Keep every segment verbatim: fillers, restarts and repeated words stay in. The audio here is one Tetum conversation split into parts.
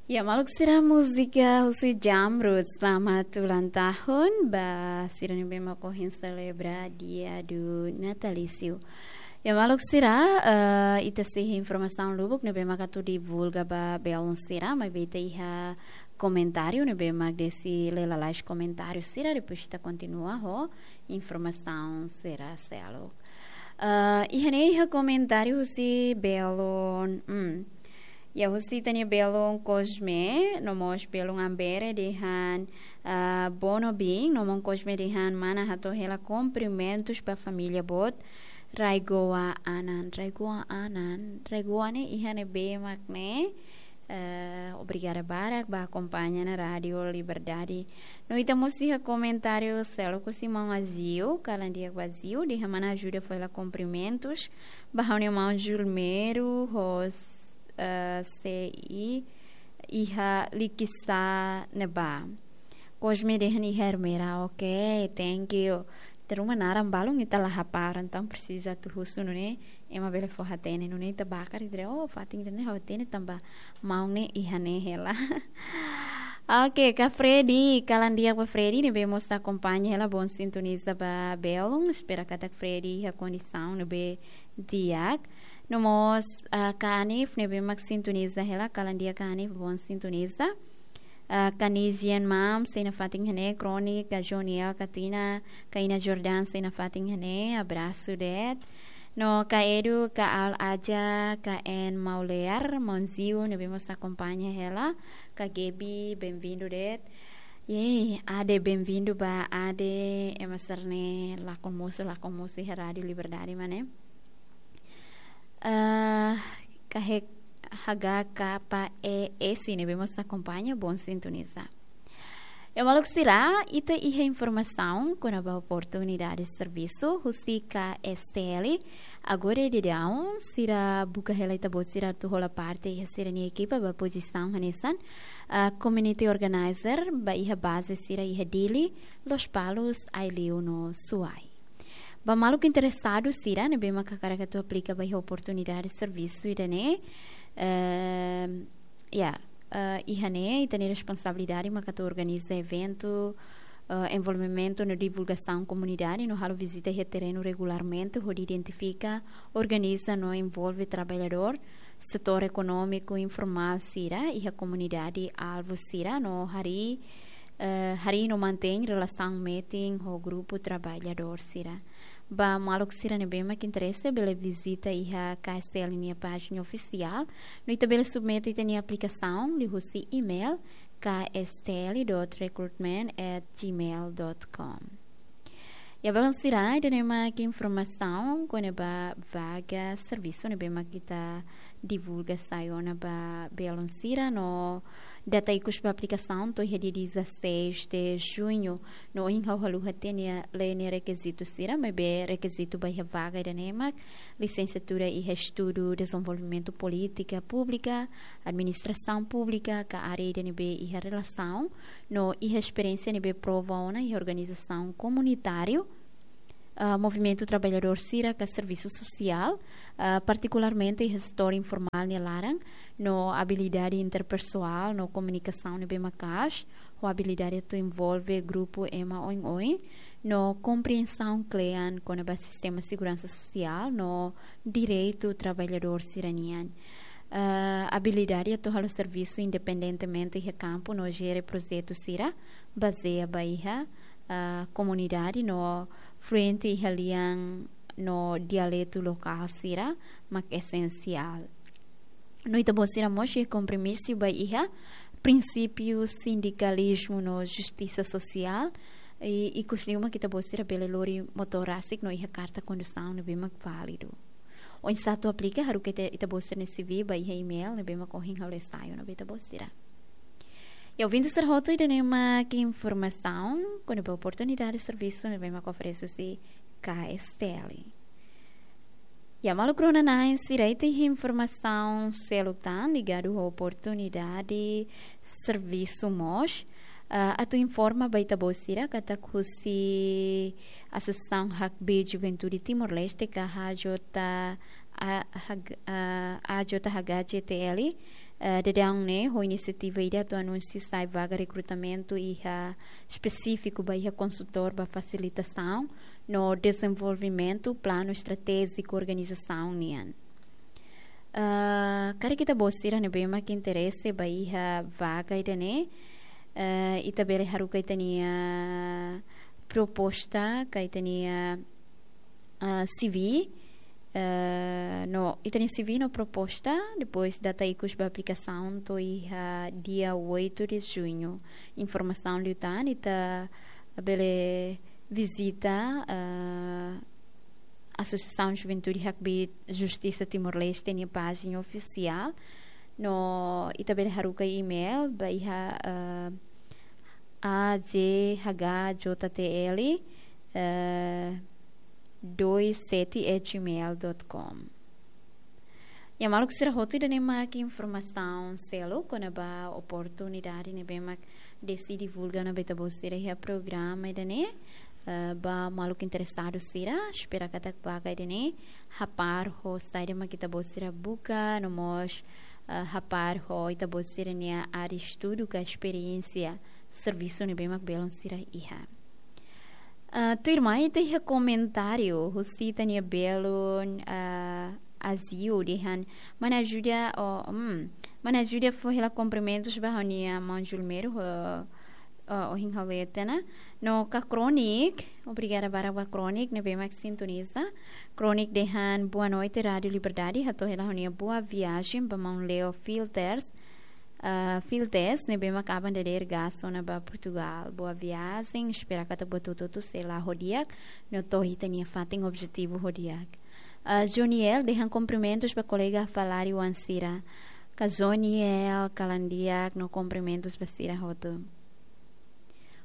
Ya, maluk sira, múzika husi Jamrud, selamat ulang tahun ba sira ne'ebé mak ohin selebra dia do natalísiu. Ya, maluk sira, eh, ita sei iha informasaun lubuk ne'ebé mak atu divulga ba belun sira, maibé ita iha komentáriu ne'ebé mak desi lee lalais komentáriu sira, depois ita kontinua ho informasaun sira seluk. Eh, iha ne'e iha komentáriu husi belun, hmm. Ya, husi ita-nia belun Cosme, no mós belun Ambere dehan, ah, Bono Bing, no mós Cosme dehan mana hato'o hela kumprimentus ba família boot, Raigoa Anan, Raigoa Anan, Raigoa ne'e iha ne'ebé mak ne'e, eh, obrigada barak ba akompaña ona Rádiu Liberdade. No ita mós iha komentáriu seluk husi maun Aziu, kalan di'ak ba Aziu, dehan mana ajuda fó hela kumprimentus ba ha'u-nia maun Julmero, ho, eh, sei iha Likisá ne'ebá. Cosme dehan iha Ermera, ok, thank you. Teruma naran balun ita la hapara, entaun presiza atu husu nune'e, ema bele fó hatene nune'e ita bakar ida, oh, fatin ida-ne'e ha'u hatene tanba maun ne'e iha ne'e hela. Ok, ka Freddy, kalan di'ak ba Freddy, ne'ebé mós akompaña hela, bom sintoniza ba belun, espera katak Freddy iha kondisaun ne'ebé di'ak. No mós, ah, ka Anif, ne'ebé mak sintoniza hela, kalan di'ak ka Anif, bom sintoniza. Ah, ka Nizian Mam, sei nafatin iha ne'e, Kronik, ka Joniel, ka Tina, ka Ina Jordan, sei nafatin iha ne'e, abrasu de'it. No ka Edu, ka Al Aja, ka En Maulear, maun Ziu, ne'ebé mós akompaña hela, ka Gaby, benvindu de'it. Yey, Ade, benvindu ba Ade, ema sira ne'e lakon mosu, lakon mosu iha Rádiu Liberdade, mana. Eh, ka H K P E S ne'ebé mós akompaña, bom sintoniza. Ya, maluk sira, ita iha informasaun kona-ba oportunidade servisu husi K S T L. Agora daudaun sira buka hela ita-boot sira atu hola parte iha sira-nia ekipa ba pozisaun hanesan, ah, community organizer ba iha baze sira iha Dili, Lospalos, Aileu no Suai. Ba maluk interesadu sira ne'ebé mak hakarak atu aplika ba iha oportunidade servisu ida-ne'e, ehm, ya, eh, iha ne'e ita-nia responsabilidade mak atu organiza eventu, eh, envolvimentu no divulgasaun komunidade no halo vizita iha terrenu regularmente hodi identifika, organiza no envolve traballadór setór ekonómiku informál sira iha komunidade alvu sira no harii, eh, harii no mantein relasaun metin ho grupu traballadór sira. Ba maluk sira ne'ebé mak interese bele vizita iha K S T L nia pájina ofisiál, no ita bele submete ita-nia aplikasaun liuhusi email K S T L dot recruitment at gmail dot com. Ya, belun sira, ida-ne'e mak informasaun kona-ba vaga servisu ne'ebé mak ita divulga sai ona ba belun sira no data ikus ba aplikasaun to'o iha dia dezasseis de junho. No ohin ha'u haluha tiha nia, lee nia rekizitu sira, maibé rekizitu ba iha vaga ida-ne'e mak lisensiatura iha estudu dezenvolvimentu polítika públika, administrasaun públika, ka área ida ne'ebé iha relasaun, no iha esperiénsia ne'ebé prova ona iha organizasaun komunitáriu, ah, movimentu traballadór sira ka servisu sosiál, ah, partikularmente iha setór informál nia laran, no abilidade interpesoál no komunikasaun ne'ebé maka'as, ho abilidade atu envolve grupu ema oioin, no komprensaun kle'an kona-ba sistema seguransa sosiál no direitu traballadór sira-nian. Ah, abilidade atu halo servisu independentemente iha kampu no jere projetu sira bazeia ba iha, ah, komunidade no fluente iha lian no dialetu lokál sira mak esensiál. No ita-boot sira mós iha kompromisu ba iha prinsípiu sindikalizmu no justisa sosiál, i, ikus liu mak ita-boot sira bele lori motór rasik no iha karta kondusaun ne'ebé mak válidu. Oinsá atu aplika, haruka ita, ita-boot sira-nia C V ba iha email ne'ebé mak ohin ha'u lee sai ona ba ita-boot sira. Ya, ouvinte sira hotu, ida-ne'e mak informasaun kona-ba oportunidade servisu ne'ebé mak oferese husi K S T L. Ya, maluk rona-na'in sira, ita iha informasaun seluk tan ligadu ho oportunidade servisu mós. Ah, atu informa ba ita-boot sira katak husi Asosiasaun Hakb'e Juventude Timor-Leste ka H J, ah, H-, ah, A J H G T L, Eh, daudaun ne'e, ho inisiativa ida atu anunsia sai vaga rekrutamentu iha espesífiku ba iha konsultór ba fasilitasaun no dezenvolvimentu planu estratéjiku organizasaun nian. Eh, karik ita-boot sira ne'ebé mak interese ba iha vaga ida-ne'e, eh, ita bele haruka ita-nia proposta, ka ita-nia, ah, C V, eh, no, ita-nia C V no proposta, depois data ikus ba aplikasaun to'o iha dia oito de junho. Informasaun liután, ita bele vizita, eh, Asosiasaun Juventude Hakbiit Justisa Timor-Leste nia pájina ofisiál. No, ita bele haruka email ba iha, eh, A J H J T L, eh, dois sete at gmail dot com. Ya, maluk sira hotu, ida-ne'e mak informasaun seluk kona-ba oportunidade ne'ebé mak Desi divulga ona ba ita-boot sira iha programa ida-ne'e, eh, ba maluk interesadu sira, espera katak vaga ida-ne'e hapar ho saida mak ita-boot sira buka, no mós, eh, hapar ho ita-boot sira-nia área estudu ka esperiénsia servisu ne'ebé mak belun sira iha. Ah, tuirmai ita iha komentáriu husi ita-nia belun, ah, Azio dehan: Mana ajuda, oh, hmm, mana ajuda fó hela kumprimentus ba ha'u-nia maun Julmero, oh, oh, ohin ha'u lee tiha ona. No ka Kronik, obrigada barak ba Kronik ne'ebé mak sintoniza. Kronik dehan: Boa noite, Rádio Liberdade. Hato'o hela ha'u-nia boa viajen ba maun Leo Filters, ah, Filtes, ne'ebé mak aban dadeer gas ona ba Portugal. Boa viajen, espera katak buat hotu-hotu sei la'o ho di'ak, no to'o ita-nia fatin objetivu ho di'ak. Ah, Joniel dehan kumprimentus ba kolega Falari Wansira. Ka Joniel, kalan di'ak no kumprimentus ba sira hotu.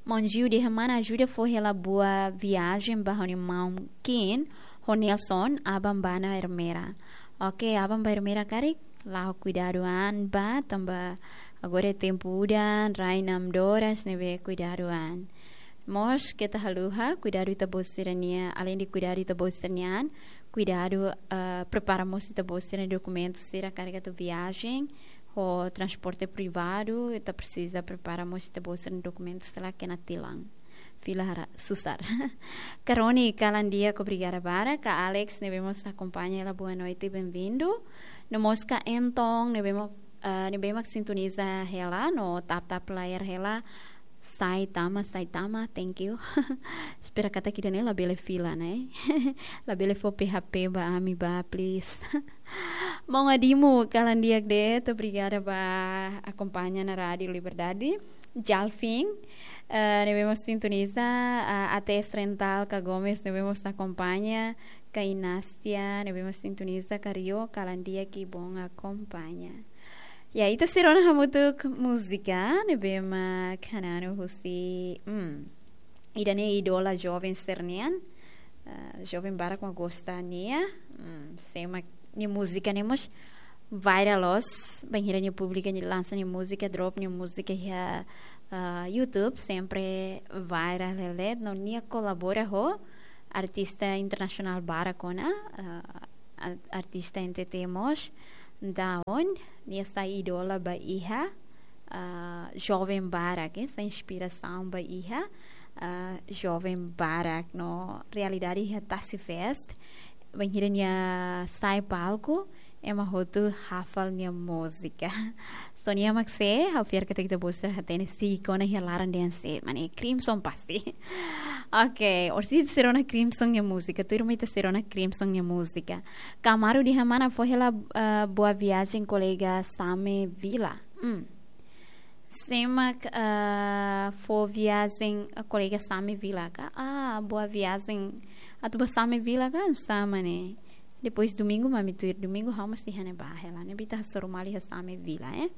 Maun Jiu dehan: Mana ajuda fó hela boa viajen ba ha'u-nia maun Kin ho Nelson, aban ba Ermera. Oke, aban ba Ermera karik, la'o kuidadu an ba, tanba agora tempu udan, rai namdoras, ne'ebé kuidadu an. Mós keta haluha kuidadu ita-boot sira-nia, além de kuidadu ita-boot sira-nia an, kuidadu, eh, prepara mós ita-boot sira-nia dokumentu sira karik atu viajen, ho transporte privadu, ita presiza prepara mós ita-boot sira-nia dokumentu sira la kena tilan. Fila hara, susar. Ka Roni, kalan di'ak, obrigada barak. Ka Alex, ne'ebé mós akompaña hela, boa noite, bem-vindo. No mós ka Entong, ne'ebé mak, ah, ne'ebé mak sintoniza hela, no tap-tap layar hela. Sai tama, sai tama, thank you. Espera katak ida-ne'e labele fila, ne'e? Labele fó P H P ba ami ba, please. Maun Adimu, kalan di'ak de'it, obrigada ba akompaña ona Rádio Liberdade. Jalfin, eh, ne'ebé mós sintoniza, ah, A T S Rental, ka Gomes, ne'ebé mós akompaña, ka Inácia, ne'ebé mós sintoniza, ka Rio, kalan di'ak, kibon akompaña. Ya, ita sei rona hamutuk múzika ne'ebé mak hananu husi, hmm, ida-ne'e idola joven sira-nian. Ah, joven barak mak gosta nia. Hmm, sé mak nia múzika ne'e mós viral loos. Bainhira nia publika, nia lansa nia múzika, drop nia múzika iha, ah, YouTube, sempre viral hela de'it. No nia kolabora ho artista internasionál barak ona, ah, a-, artista N T T mós. Entaun, nia sai idola ba iha, ah, joven barak, eh, sai inspirasaun ba iha, ah, joven barak. No realidade iha Tasi Fest, bainhira nia sai palku, ema hotu hafal nia múzika. So nia mak sé, ha'u fiar katak ita-boot sira hatene, siik ona iha laran dehan sé, mane Crimson pasti. Oke, orsida ita sei rona Crimson nia múzika, tuirmai ita sei rona Crimson nia múzika. Ka Amaru dehan: Mana fó hela, ah, boa viajen kolega Same Vila. Hmm. Sé mak, ah, fó viajen, ah, kolega Same Vila ka? Ah, boa viajen atu ba Same Vila ka? Sama ne'e. Depois domingu mak ami tuir, domingu ha'u mós iha ne'ebá hela, ne'ebé ita hasoru malu iha Same Vila, eh.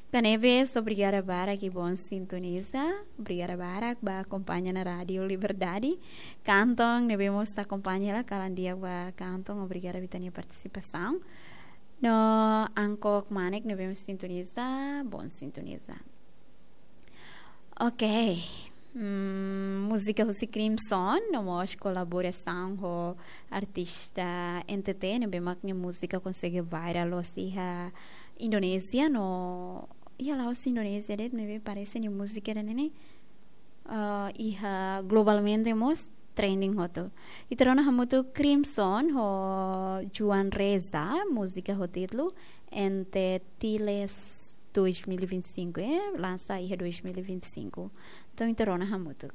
Ka Neves, obrigada barak, kibon sintoniza. Obrigada barak ba akompaña ona Rádio Liberdade. Ka Anton, ne'ebé mós akompaña hela, kalan di'ak ba Ka Anton, obrigada ba ita-nia partisipasaun. No Angkok Manek, ne'ebé mós sintoniza, bon sintoniza. Oke. Hmm, múzika husi Crimson, no mós kolaborasaun ho artista N T T, ne'ebé mak nia múzika konsege viral loos iha Indonézia, no iha la'ós Indonézia de'it, ne'ebé parese nia múzika ida-ne'e, ah, iha globalmente mós trending hotu. Ita rona hamutuk Crimson ho Juan Reza, múzika ho títulu Ente Tiles dois mil e vinte e cinco, eh, lansa iha dois mil e vinte e cinco. Entaun, ita rona hamutuk.